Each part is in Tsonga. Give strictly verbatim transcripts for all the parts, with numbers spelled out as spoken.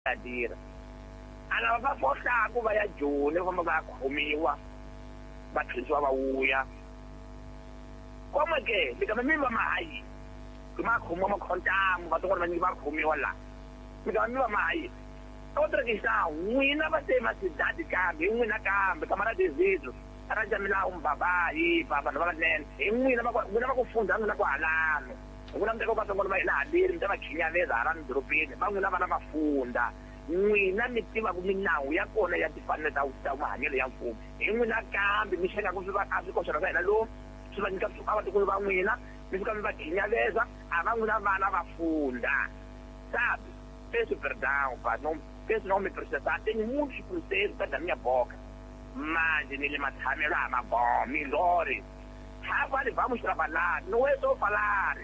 ya tirha a lava va fohlaku va ya Joni va famba va ya khomiwa va tlherisiwa va vuya como que mi kama mi va mahayi ma khomiwa makhontamu vatsongwana vanyingi va khomiwa laha mi kama mi va mahayi outra questão n'wina va te macidade kambe hi n'wina kambe camarada Isidro aranja milawu mbaba hi va vanhu va vanene hi n'wina va n'wina va ku fundha n'wina ku halano n'wina mi teka vatsongwana va hina haleni mi ta va khinyaveza halani dorobeni va n'wina vana va fundha n'wina mi tivaka minawu ya kona ya timfanelo ta ta mahanyelo ya mfumo hi n'wina kambe mi xekaku swi va a swi koxela swa hina lomu swi va nyika a vatikulu va n'wina mi fika mi va khinyaveza a va n'wina vana va fundha sabe peço perdão pá, não peço não me processar, tenho muitos processos dentro da minha boca mas nele matshamelo a ma bom melhores agora vamos trabalhar, não é só falar,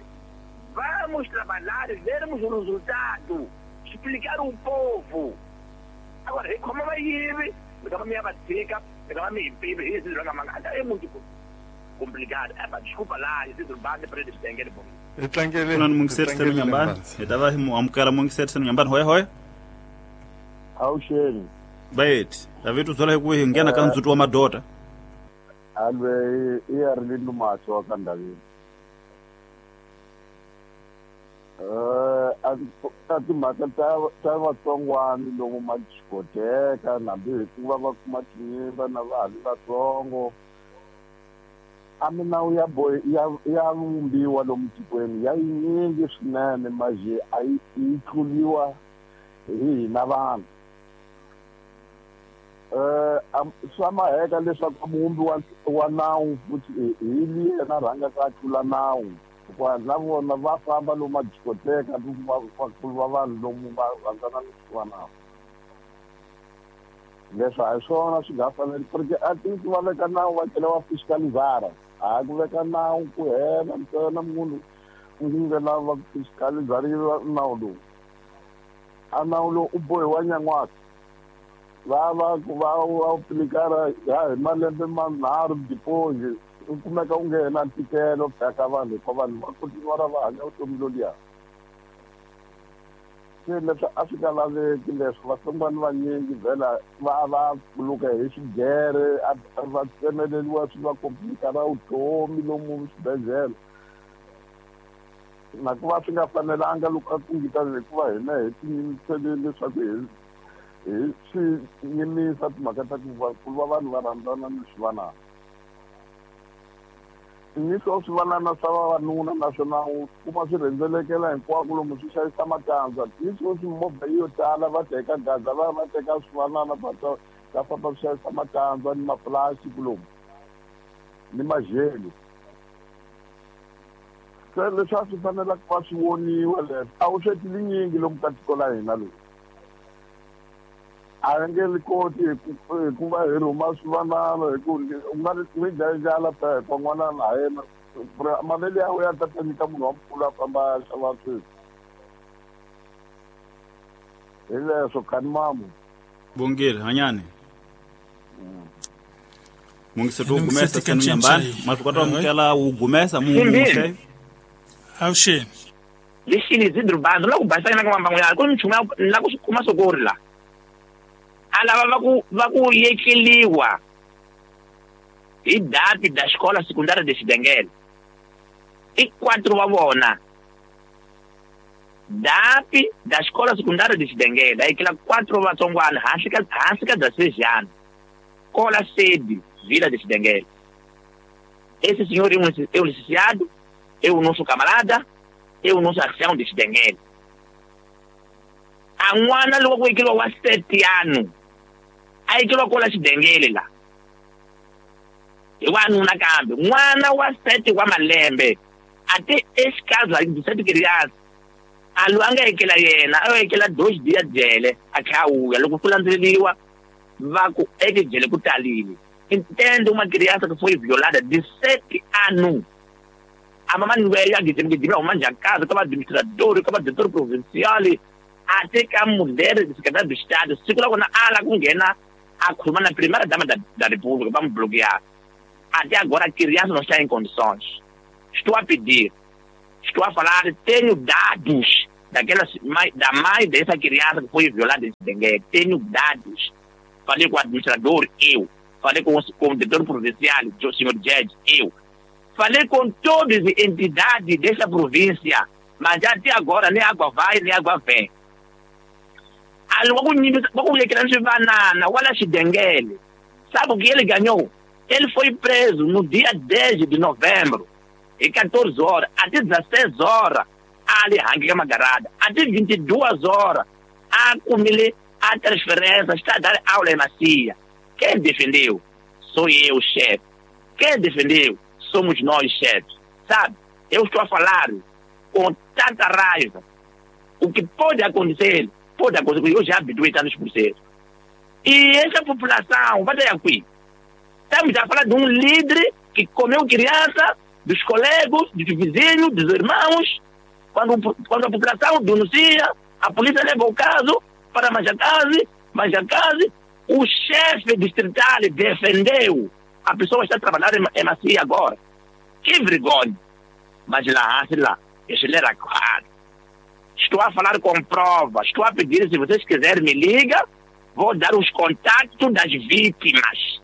vamos trabalhar, vermos o resultado, explicar o povo. Agora, como vai ir? Me minha batica, me é muito complicado. É, desculpa lá, esse bande para eles terem bom. Kuna mungiseri senu nyambani etava amukela mungiseri senu nyambani hoya hoya awuxeni bayeti davitu zola hi ku hi nghena ka ndzhuti wa madota alwe i ya ri lumaso wa ka ndaveni eh a timhaka ta ta vatsongwana lomu ma discoteka hambi hi ku va va kuma tinyimba na va ha ri vatsongo a minawu ya boy ya ya vumbiwa lomu tikweni ya yinyingi swinene maje a yi yi tluliwa hi hina vanhu eh swa maheka leswaku muvumbi wa wa nawu futhi hi yena rhangaka a tlula nawu hikuva na vona va famba lomu madiscoteka vakulu va vanhu lomu va rhandzana ni swivanana leswi a hi swona swi nga faneli porque a ti va veka nawu va tlhela va fiscalizara a ku veka nawu ku hela ntsena munhu u nga lava ku fiscalizariwa nawu lowu a nawu lowu u bohiwa nyan'waka va va ku va va aplikara ya hi malembe manharhu deposit u kumeka u nge na ntikelo ka vanhu hikuva vanhu va kotiwa va hanya vutomi loluya se leswi a swi nga laveki leswi vatsongwana vanyingi vhela va va pfuluka hi xigere va tsemeleriwa swi va komplikara vutomi lomu swibedhlele na ku va swi nga fanelanga loko a kungita hikuva hina hi tiyimisele leswaku hi hi swi yimisa timhaka ta ku vakulu va vanhu va rhandzana ni swivanana ni swo swivanana swa vavanuna naswona u kuma swi rhendzelekela hinkwako lomu swi xavisa matandza ni swo swi movha yo tala va teka gaza va va teka swivanana va ta va famba swi xavisa matandza ni mapulastiki lomu ni majelo se leswi a swi fanelaka va swi voniwa leswi a wu sweti linyingi lomu ka tiko la hina lowu a nge li koti hi ku va hi rhuma swivanana hi ku u nga ri dlaya ndlala phepha n'wana na yena mavele ya wena ya ta ta nyika munhu wa mukulu a famba a ya xava swilo hi leswo khani mamu bongile hanyani mungiseto wu gumesa senu nyambani maswi kota amukela wu gumesa mungu awuxeni lexini Isidro Bando la ku basana ka mambangu ya ku nchumu la ku kuma sokori la a lava va ku va ku yekeliwa hi dati da escola secundária de Xidengele i quatro wa vona dati da escola secundária de Xidengele a yekela quatro vatsongwana hansi ka hansi ka dezesseis anos cola sede Vila de Xidengele. Esse senhor é um, é um licenciado, é o nosso camarada, é o nosso ancião de Xidengele. A n'wana loko ku yekeliwa wa sete anos a yekeliwa kola Xidengele la hi wanuna kambe n'wana wa sete wa malembe a te exikarhi de sete criança a loyi a nga yekela yena a yo yekela dois dias jele a tlhela a vuya loko ku landzeleriwa va ku eke jele ku talile. Entende uma criança que foi violada de sete anos a mamãe veio a gidimgidima uma casa como administrador como diretor provincial até que a mulher de secretário do Estado siku la kona ala ku nghena a khuluma na primeira dama da, da República vamos bloquear. Até agora a criança não está em condições. Estou a pedir, estou a falar, tenho dados Daquela, da mãe dessa criança que foi violada em Benguela. Tenho dados. Falei com o administrador, eu. Falei com o, com o diretor provincial, o senhor Jed, eu. Falei com todas as entidades dessa província, mas até agora nem água vai, nem água vem. Sabe o que ele ganhou? Ele foi preso no dia dez de novembro, e quatorze horas, até dezesseis horas, ali rangue magarada, até vinte e duas horas, a comer a transferência, está a dar aula em Macia. Quem defendeu? Sou eu, chefe. Quem defendeu? Somos nós, chefes. Sabe? Eu estou a falar com tanta raiva. O que pode acontecer, pode acontecer, eu já habituei a estar nos processos. E essa população, vai ter aqui. Estamos a falar de um líder que comeu criança, dos colegas, dos vizinhos, dos irmãos. Quando, quando a população denuncia, a polícia leva o caso para Manjacaze, Manjacaze, o chefe distrital defendeu. A pessoa está trabalhando em Macia agora. Que vergonha! Mas lá, lá, ele era claro. Estou a falar com prova, estou a pedir, se vocês quiserem me liga, vou dar os contatos das vítimas.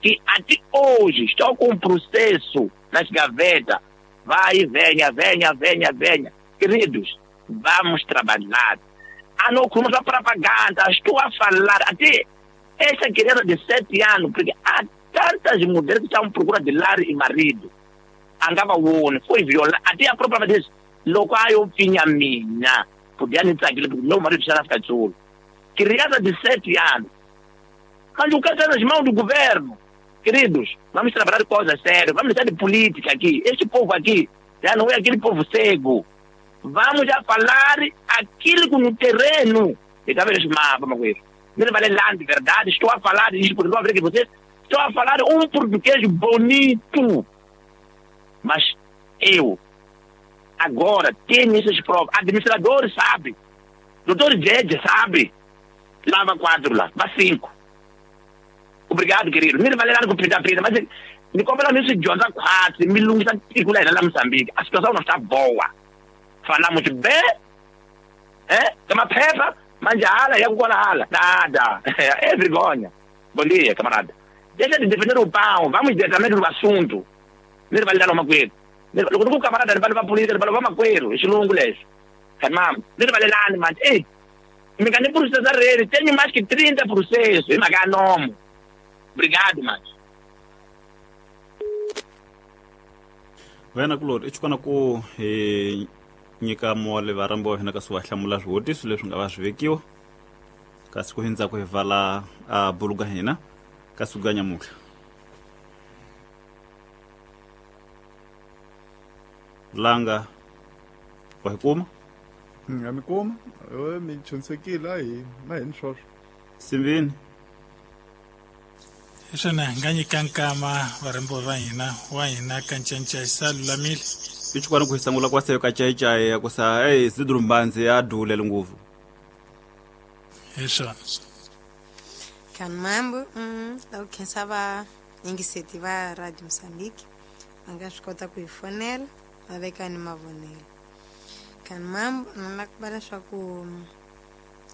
Que até hoje estou com um processo nas gavetas. Vai, venha, venha, venha, venha. Queridos, vamos trabalhar. Ah, não, como só propaganda, estou a falar. Até essa criança de sete anos, porque há tantas mulheres que estão à procura de lar e marido. Andava o foi violada. Até a própria diz, logo eu tinha minha. Podia nem tranquilo, porque meu marido está na África do Sul. Criança de sete anos. Mas o caso está nas mãos do governo. Queridos, vamos trabalhar coisas sérias, vamos deixar de política aqui. Este povo aqui já não é aquele povo cego. Vamos já falar aquilo no terreno. E talvez mapa, uma coisa. Não vale lá de verdade, estou a falar isto porque não a ver que vocês. Estou a falar um português bonito. Mas eu, agora, tenho essas provas. Administrador sabe. Doutor Jed sabe. Lava quatro lá, vá cinco. Obrigado, querido. Me vale lá com pinta pinta, mas me cobra nisso de onda quatro, me lunga lá Moçambique. A situação não está boa. Falamos bem, é? Toma pepa, mas a ala, e agora a ala. Nada. É vergonha. Bom dia, camarada. Deixa de defender o pão, vamos diretamente no assunto. Não vai dar uma coisa. O camarada vai levar a polícia, vai levar uma coisa. Esse longo les. Caramba, não vai lá, mas ei, me ganhei por processar ele, tenho mais que trinta processos, e me nome. Obrigado, mas. Wena kulori i xikona ku hi nyika mole varambi wa hina kasi wa hlamula swivutiso leswi nga va swi vekiwa kasi ku hindza ku hi vala a buluga hina kasi ku nyamutlha langa wa hi kuma nga mi kuma mi chonsekile a hi na hi ni swoswo simbini Isona nga nyika nkama varhambiwa va hina wa hina ka Ncancai sa lulamile i xikwana ku hi sangula kwa seyo ka caicai ya ku sa ei zidrumbanzi ya dulele ngopfu hi swona Kan mambo mm, la ku khensa va yingiseti va Radio Mozambique va nga swi kota ku hi fonela va veka ni mavonelo. Kan mambo ni la ku va leswaku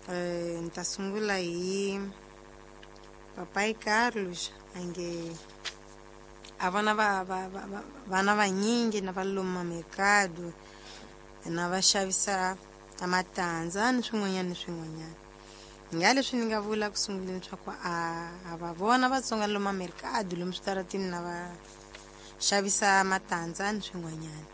eh, ni ta sungula hi Papai Carlos ange a vana va va va vana vanyingi na va loma mercado na va xavisa matandza ni swin'wanyana ni swin'wanyana. Nga leswi ni nga vula ku sunguleni leswaku a a va vona Vatsonga loma mercado lomu switaratini na va xavisa matandza ni swin'wanyana.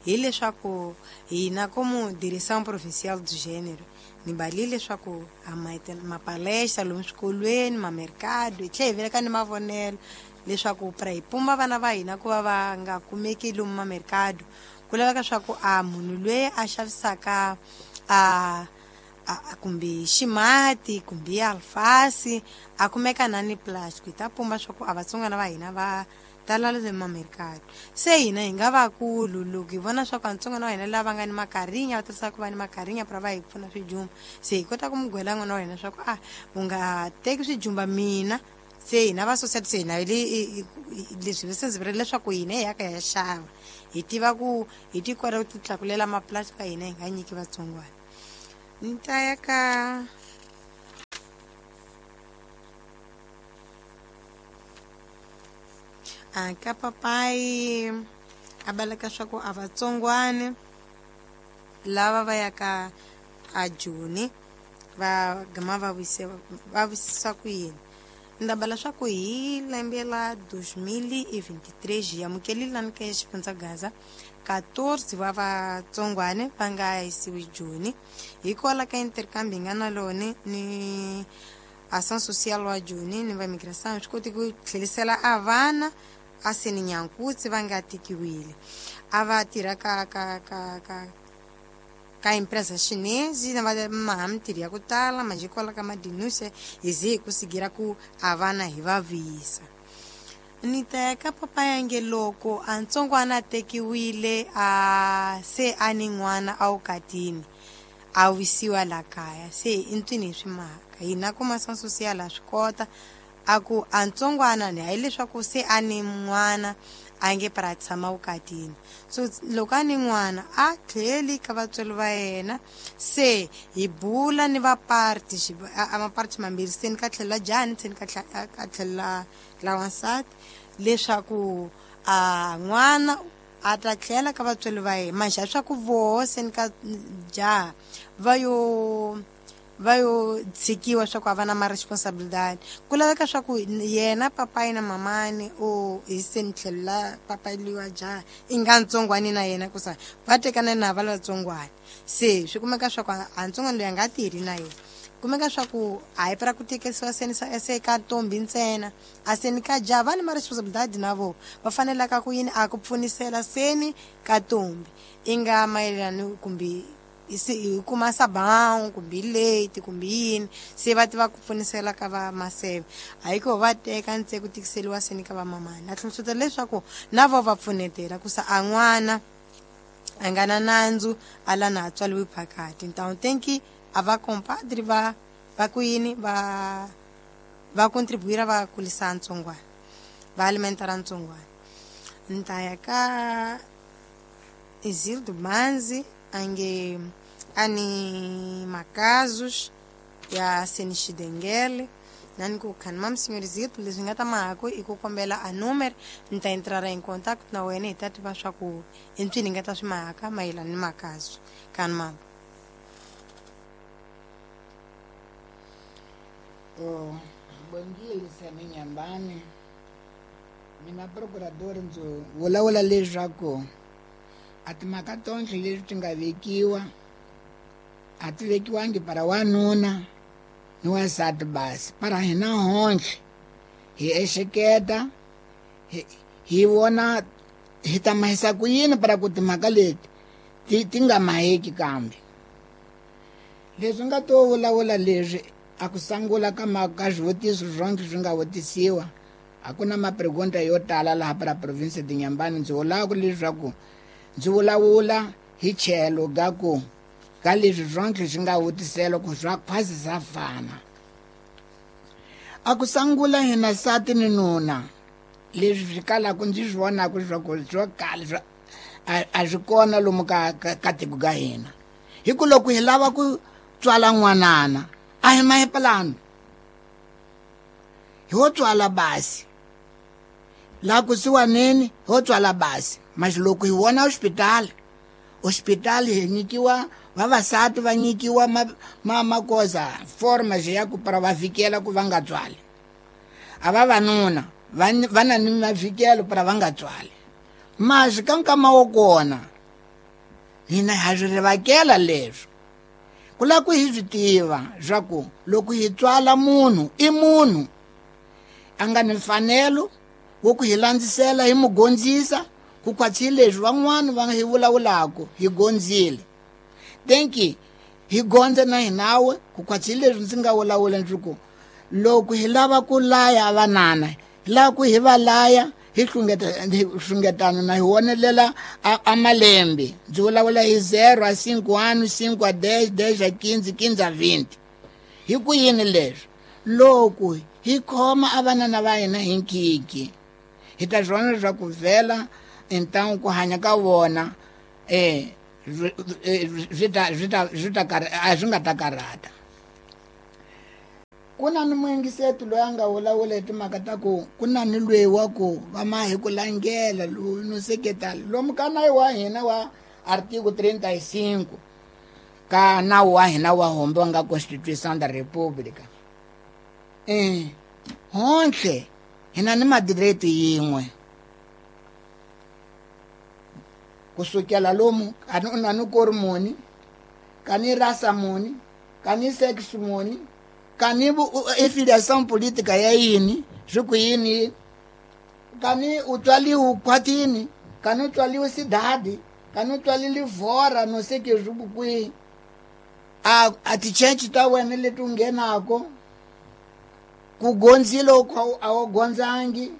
Hi leswaku hina como direção provincial do gênero ni balile leswaku a mapalestra lomu swikolweni mamercado hi tlhela hi veleka ni mavonelo leswaku pra hi pumba vana va hina ku va va nga kumeki lomu mamercado ku laveka swa ku a munhu loyi a xavisaka a a kumbe ximati kumbe alfasi a kumeka na ni plastic hi ta pumba swa ku a Vatsongana va hina va tala le mamercado se hina hi nga vakulu loko hi vona swa ku Vatsongana va hina lava nga ni makarinya va tirhisa ku va ni makarinya pra va hi pfuna swijumba se hi kota ku mugwela n'wana wa hina swa ku a u nga teki swijumba mina se hina va society se hina leswi se ndzi vurile leswaku hina hi ya ka ya xava hi tiva ku hi ti kota ku ti tlakulela maplastic ya hina hi nga nyiki Vatsongwana. Ni ta ya ka a ka papai a baleka swa ku a vatsongwane lava va ya ka a Joni va gama va wise va wisisa ku yini. Ni ta bala swa ku hi lembe la dois mil e vinte e três hi amukelile lani ka xifundza Gaza quatorze wa vatsongwane va nga yisiwi Joni hikwalaho ka intercambio hi nga na lone ni ação social wa Joni ni va migração swi koti ku tlhelisela a vana a seni nyankutsi va nga tikiwile a va tirha ka ka ka ka ka empresa chinese na va maha mintirho ya ku tala manjhe kwala ka madinuse hi ze hi ku sigira ku a vana hi va vuyisa. Ni ta ya ka papa yange loko a ntsongwana a tekiwile a se a ni n'wana a wukatini a wisiwa la kaya se i ntwini hi swi mhaka hina kuma ação social a swi kota a ku a ntsongwana ni hayi leswaku se a ni n'wana a nge para tshama vukatini so loko a ni n'wana a tlheli ka vatswari va yena se hi bula ni va party a maparti mambirhi se ni ka tlhela jani se ni ka ka tlhela la wansati leswaku a n'wana a ta tlhela ka vatswari va yena manjhe swa ku voho se ni ka jaha va yo va yo tshikiwa swa ku a va na ma-responsabilidade ku laveka swa ku yena papai na mamani o hi se ni tlhela papai liwa jaha i nga ntsongwani na yena ku sa va tekana na va latsongwani se swi kumeka swa ku a ntsongwani loyi a nga tirhi na yena kumeka swa ku a hi para ku tekisiwa seni se ka ntombi ntsena a seni ka jaha va ni ma-responsabilidade na vona va fanelaka ku yini a ku pfunisela seni ka ntombi i nga mayelana kumbe hi kuma sabão kumbe leite kumbe yini se va tiva ku pfunisela ka va maseve hayi ko va teka ntse ku tikiseliwa seni ka va mamani a hlohlotela leswaku na vo va pfunetela ku sa a n'wana a nga na nandzu a la na tswaliwi phakati então tem que a va compadre va va ku yini va va contribuir va kulisa ntsongwana va alimentar ntsongwana. Ni ta ya ka Isildo Manzi ange ani makazus ya senixidengele nani ku khani mam senhorizito leswi nga ta mahako i ku kombela a número ni ta entrar em contato na wena hi ta tiva swa ku i mpfini nga ta swi mahaka mayelana ni makazu khani mam. Oh, bom dia Saminyambani mina procurador ndzi vulavula leswaku a timhaka tonke leswi ti nga vekiwa a ti vekiwangi para wanuna ni wansati basi para hina honhle hi ehleketa hi hi vona hi ta mahisa ku yini para ku timhaka leti ti ti nga maheki kambe leswi nga to vulavula leswi a ku sangula ka mhaka swivutiso swonke swi nga vutisiwa a ku na mapregunta yo tala laha para province de Inhambane. Ndzi vulaka leswaku ndzi vulavula hi tlhelo ga ku ka leswi swonke swi nga vutisela ku swa khwasi swa fana a ku sangula hina nsati ni nuna leswi swi kalaka ndzi swi vonaka leswaku swo kala a swi kona lomu ka ka tiko ka hina hi ku loko hi lava ku tswala n'wanana a hi mahi plano hi ho tswala basi laha kusuwaneni ho tswala basi mas loko hi vona hospitali hospitali hi nyikiwa vavasati va nyikiwa ma, ma magoza forma ya ku para va fikela ku va nga tswali a vavanuna va na ni mafikelo para va nga tswali mas ka nkama wo kona hina ha swi rivakela leswo ku lava ku hi swi tiva swa ku loko hi tswala munhu i munhu a nga ni mfanelo wo ku hi landzisela hi mu gondzisa ku khwatsi leswi van'wana va hi vulavulaka hi gondzile thank hi gondze na hinawe ku khwatsi leswi ndzi nga vulavula ndzi ku loko hi lava ku laya vanana hi lava ku hi va laya hi hlungeta hi hlungetana na hi wonelela a malembe ndzi vulavula hi zero a cinco ano cinco a dez dez a quinze quinze a vinte hi ku yini leswi loko hi khoma a vanana va hina hi nkiki hi ta swi vona leswaku vhela então ku hanya ka vona eh swi ta swi ta swi ta a swi nga ta karhata. Ku na ni muyingiseti loyi a nga vulavula hi timhaka ta ku ku na ni lweyi wa ku va ma hi ku langela loyi no seketela lomu ka nawu wa hina wa artigo trinta e cinco ka nawu wa hina wa hombe wa nga Constituição da República. Eh, honhle hina ni madireto yin'we kusukela lomu kani u na ni kori muni kani rasa muni kani sex muni kani affiliação política ya yini swi ku yini kani u tswaliwe khwatini kani u tswaliwe cidade kani u tswalile vhora no sei que swi ku kwihi a a tichechi ta wena leti u nghenako ku gondzile a wu gondzangi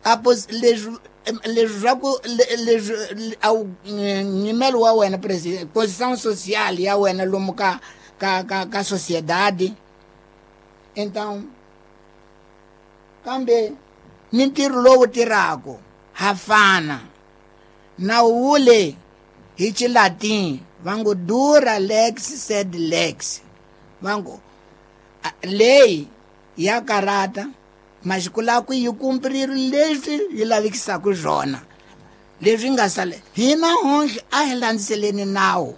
apo leswi leswi swa ku leswi a wu nyimelo wa wena president posição social ya wena lomu ka ka ka ka sociedade. Então kambe ni ntirho lowu tirhaka ha fana nawu wule hi Xilatin va ngo dura lex sed lex va ngo leyi ya karata masiku la ku yi kumpirile leswi yi lavikisaka swona leswi nga sale hina honhle a hi landzeleni nawu.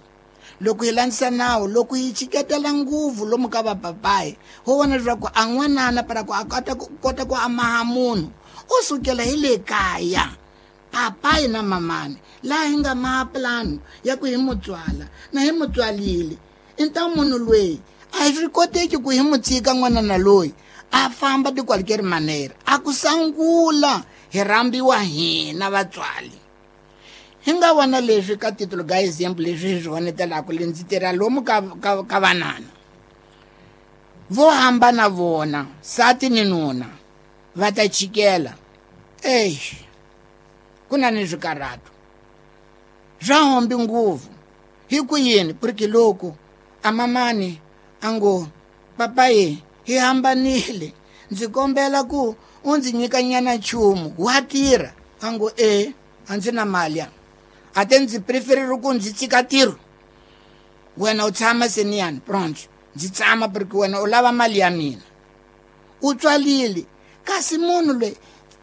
Loko hi landzisa nawu loko hi chiketela nguvu lomu ka vapapayi ho vona leswaku a n'wanana para ku a kota ku kota ku amaha munhu u sukela hi le kaya papayi na mamani laha hi nga maha plano ya ku hi mutswala na hi mutswalile então munhu loyi a swi koteki ku hi mu tshika n'wanana loyi a famba de qualquer maneira a ku sangula hi rhambiwa hina vatswali. Hi nga vona leswi ka titulo ga example leswi hi swi vonetelaka le ndzi tirha lomu ka ka ka vanana vo hambana vona sati ni nuna va ta chikela ey ku na ni swikarhato swa hombi nguvu hi ku yini porque loko a mamani a ngo papayi hi hambanile ndzi kombela ku u ndzi nyika nyana nchumu wa tirha a ngo e a ndzi na mali ya a te ndzi preferire ku ndzi tshika ntirho wena u tshama seniyani pronto ndzi tshama porque wena u lava mali ya mina u tswalile kasi munhu loyi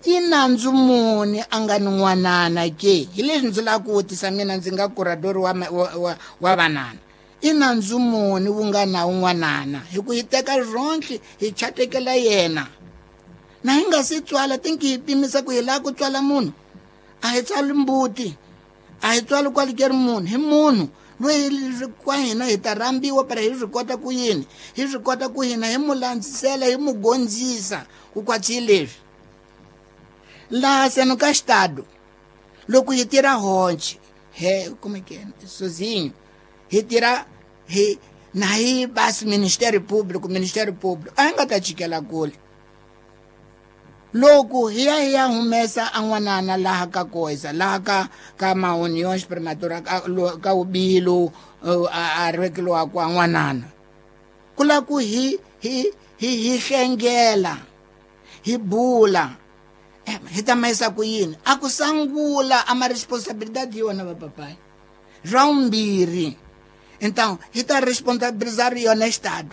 i nandzu muni a nga ni n'wanana ke hi leswi ndzi lava ku vutisa mina ndzi nga curador wa, wa, wa, wa vanana i nandzu muni wu nga na un'wanana hi ku hi teka ronhle hi chatekela yena na hi nga si tswala tinki hi pimisa ku hi lava ku tswala munhu a hi tswali mbuti a hi tswali kwalikeri munhu hi munhu loyi kwa hina hi ta rhambiwa para hi swi kota ku yini hi swi kota ku hina hi mu landzisela hi mu gondzisa ku kwatsi leswi laha seno ka xitado loko hi tirha honche he como é que é sozinho hi tirha hi na hi basi Ministério Público Ministério Público a hi nga ta chikela kule loko hi ya hi ya humesa a n'wanana laha ka koisa laha ka ka mauniões prematura ka, ka ubilo a rivekeliwa kwa n'wanana ku la ku hi hi hi hi hlengela hi bula hi ta mayisa ku yini a ku sangula a ma responsabilidade yona va papai swa vumbirhi então hi ta responsabilizar yona estado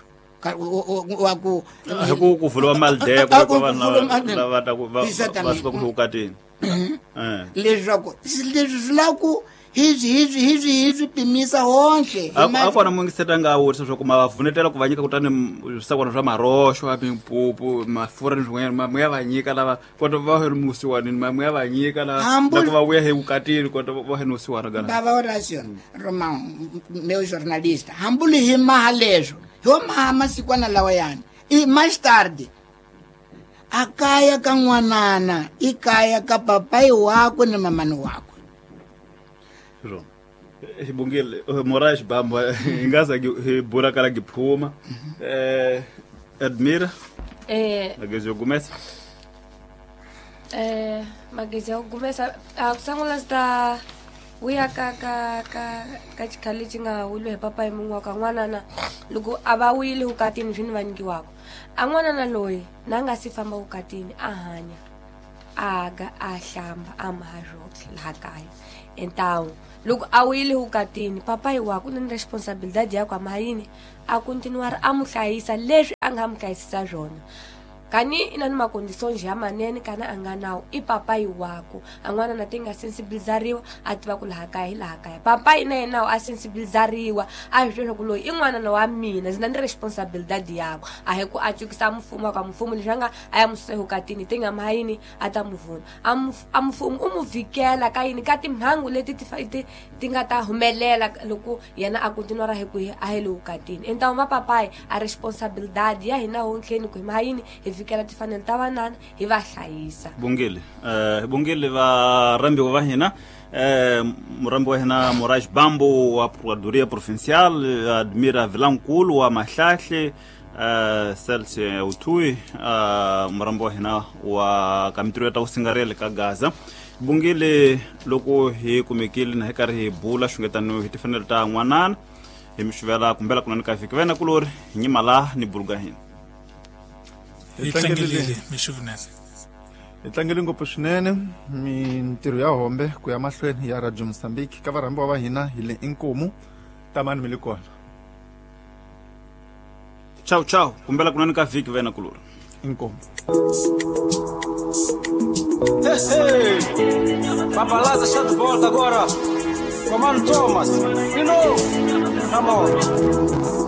wa ku hi ku ku vuriwa mali deko ku vanhu lava ta ku va va suka ku vukatini eh leswaku leswi swi lava ku hi swi hi swi hi swi hi swi pimisa honhle a kona mungiseta nga vutisa swa ku ma va vunetela ku va nyika kutani swisakwana swa maroxo a mimpupu mafurha ni swin'wanyana ma ya va nyika lava kota va he musiwanini ma ya va nyika la loko va vuya hi vukatini kota va he musiwana gana bava Horacio Romão meu jornalista hambuli hi maha leswo hi wo maha masikwana lawa yani i mais tarde a kaya ka n'wanana i kaya ka papai wakwe ni mamani wakwe. Xibungile Moraes Bamba hi nga za hi bura kala giphuma eh Admira eh magezi yo gumesa eh magezi yo gumesa a kusangula sta uya ka ka ka ka xikhale xi nga wulu hi papai mun'we wa ka n'wanana loko a va wile vukatini swi ni va nyikiwaka a n'wanana loyi na nga si famba vukatini a hanya a ga a hlamba a maha swotlhe laha kaya Então loko a wuyile vukatini papayi wa ku na ni responsabilidade ya ku amayini a continuar a mu hlayisa leswi a nga mu hlayisisa swona kani ina ni makondiso njhe ya manene kana a nga nawu i papayi waku a n'wana na ti nga sensibilizariwa a tiva ku laha kaya hi laha kaya papayi na yena a sensibilizariwa a swi tiva ku loyi i n'wanana wa mina ndzi na ni responsabilidade yakwe a hi ku a cukisa mfumo ka mfumo leswi a nga a ya mususa evukatini ti nga mayini a ta mu vuna a mfumo u mu vhikela ka yini ka timhangu leti ti ti ti nga ta humelela loko yena a continuara hi ku a hi le vukatini então mapapayi a responsabilidade ya hina hontlheni ku hi mayini hi vhikela tifanelo ta vanana hi va hlayisa bongile eh bongile va rambiwa va hina eh murambi wa hina Moraes Bambo wa Procuradoria Provincial Admira Vilankulu wa Mahlahle eh Celso Utui eh murambi wa hina wa kamitiro ta usingarele ka Gaza bongile loko hi kumekile na hi karhi hi bula xungetano hi tifanelo ta n'wanana hi mixuvela kumbela kunani ka vhiki vena kulori hi nyima la ni buluga hina hi tlangelile mixuvunene hi tlangele ngopfu swinene mintirho ya hombe ku ya mahlweni ya Radio Mozambique ka varhambiwa va hina hi le inkomu tamani mi le kona ciao ciao kumbela kunani ka vhiki vena kulori inkomu Hey, hey. Papalaza está de volta agora. Comando Thomas. De novo. Come on.